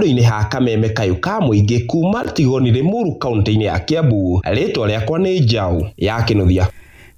Handũ-inĩ ha kameme kayũ ka mũingĩ kuma Tigoni Limuru kaunti-inĩ ya Kiambu, rĩtwa rĩakwa nĩ Njaũ ya Kĩnuthia.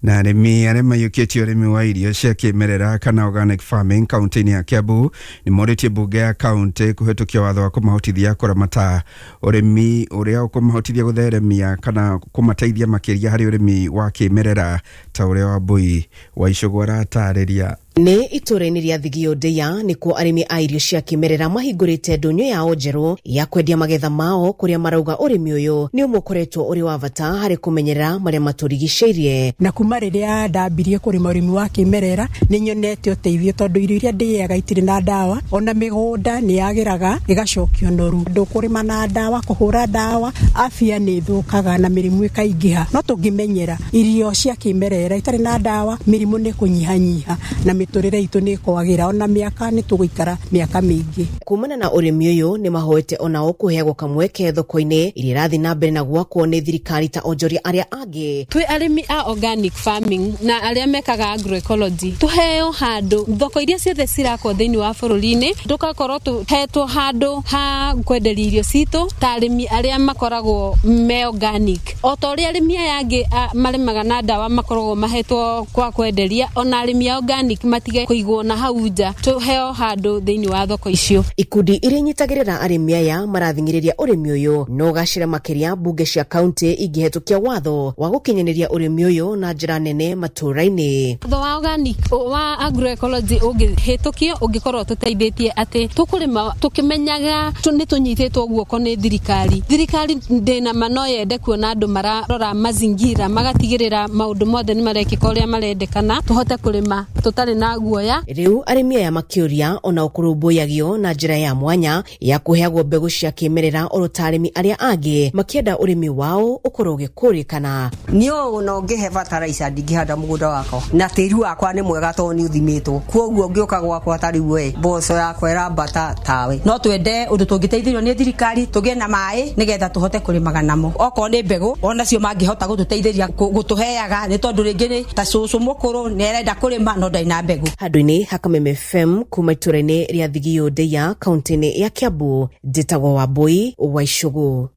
Na arĩmi arĩa maiyũkĩtie ũrĩmi wa irio cia kĩmerera kana organic farming kaunti-inĩ ya Kiambu nĩ morĩtie mbunge ya kaunti kũhetũkia watho wa kũmahotithia kũramata ũrĩmi ũrĩa ũkũmahotithia gũtheremia kana kũmateithia makĩria harĩ ũrĩmi wa kĩmerera ta ũrĩa Wambui wa Icũgũ aratarĩria. Nĩ itũũra-inĩ rĩa Thigio Ndeia nĩkuo arĩmi a irio cia kĩmerera mahingũrĩte ndũnyũ yao njerũ ya kwendia magetha mao, kũrĩa marauga ũrĩmi ũyũ nĩ ũmwe ũkoretwo ũrĩ wa bata harĩ kũmenyerera marĩa matũrigicĩirie. Na kuma rĩrĩa ndambirie kũrĩma ũrĩmi wa kĩmerera nĩ nyonete ũteithio, tondũ irio iria ndĩaga itirĩ na ndawa, ona mĩgũnda nĩ yagĩraga ĩgacokio noru. Ndũkũrĩma na ndawa, kũhũra ndawa, afya nĩ ĩthũkaga na mĩrimũ ĩkaingĩha. No tũngĩmenyera irio cia kĩmerera itarĩ na ndawa, mĩrimũ nĩ kũnyihanyiha na mĩtũrĩre itũ nĩ kwagĩra, ona mĩaka nĩ tũgũikara mĩaka mĩingĩ. Kumana na ũrĩmi ũyũ nĩ mahoete onao kũheagwo kamweke thoko-inĩ iria irathiĩ na mbere na gwakwo nĩ thirikari ta onjoria arĩa angĩ. Twĩ arĩmi a organic farming na arĩa mekaga agroecology, tũheo handũ thoko iria ciothe cirakwo thĩinĩ wa bũrũri-inĩ, tũgakorwo tũhetwo handũ ha kwenderia irio citũ ta arĩmi arĩa makoragwo me organic. O ta ũrĩa arĩmi aya angĩ marĩmaga na ndawa makoragwo mahetwo kwa kwenderia, ona arĩmi a organic matige kũigwo na hau nja, tũheo handũ thĩinĩ wa thoko icio. Ikundi iria inyitagĩrĩra arĩmi aya marathing'ĩrĩria ũrĩmi ũyũ no ũgacĩre makĩria mbunge cia kaunti ingĩhetũkia watho wa gũkinyanĩria ũrĩmi ũyũ na njĩra nene matũũra-inĩ. Watho wa organic wa agroecology ũngĩhĩtũkio ũngĩkorwo tũteithĩtie atĩ tũkũrĩma tũkĩmenyaga nĩ tũnyitĩtwo guoko nĩ thirikari. Thirikari ndĩna ma no yende kuona andũ mararora mazingira, magatigĩrĩra maũndũ mothe nĩ marekĩka ũrĩa marendekana, tũhote kũrĩma tũtarĩ na guoya. Rĩu arĩmi aya makĩũria ona kũrũmbũyagio na njĩra ya mwanya ya kũheagwo mbegũ cia kĩmerera oro ta arĩmi arĩa angĩ makĩenda ũrĩmi wao ũkorwo ũgĩkũrĩkana. Niĩ ona ũngĩhe bataraica ndingĩhanda mũgũnda wakwa, na tĩri wakwa nĩ mwega tondũ nĩ ũthimĩtwo, kwoguo ngĩũka gwakwa ta rĩu we mboco yakwa ĩrambata tawe. No twende ũndũ tũngĩteithĩrĩrio nĩ thirikari tũgĩe na maĩ nĩgetha tũhote kũrĩmaga namo, okorwo nĩ mbegũ onacio mangĩhota gũtũteithĩria gũtũheaga, nĩ tondũ rĩngĩ nĩ ta cũcũ mũkũrũ nĩ arenda kũrĩma no ndarĩ na mbegũ. Handũ-inĩ ha Kameme FM kuma itũũra-inĩ rĩa Thigio Ndeia kaunti-inĩ ya Kiambu, njĩtagwo Wambui wa Icũgũ.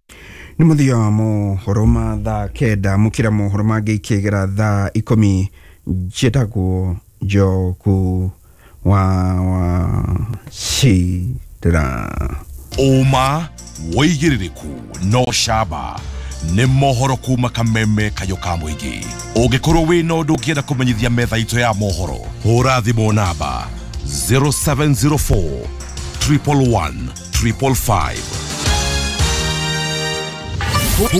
Nĩ mũthia wa mohoro ma thaa 9, mũkĩra mohoro mangĩ ikĩgera thaa 10. Njĩtagwo Njogu wa Wachira. Ũma wĩigĩrĩrĩku no camba nĩ mohoro kuma Kameme kayũ ka mũingĩ. Ũngĩkorwo wĩna ũndũ ũngĩenda kũmenyithia metha itũ ya mohoro, hũra thimũ namba 0704 111 555.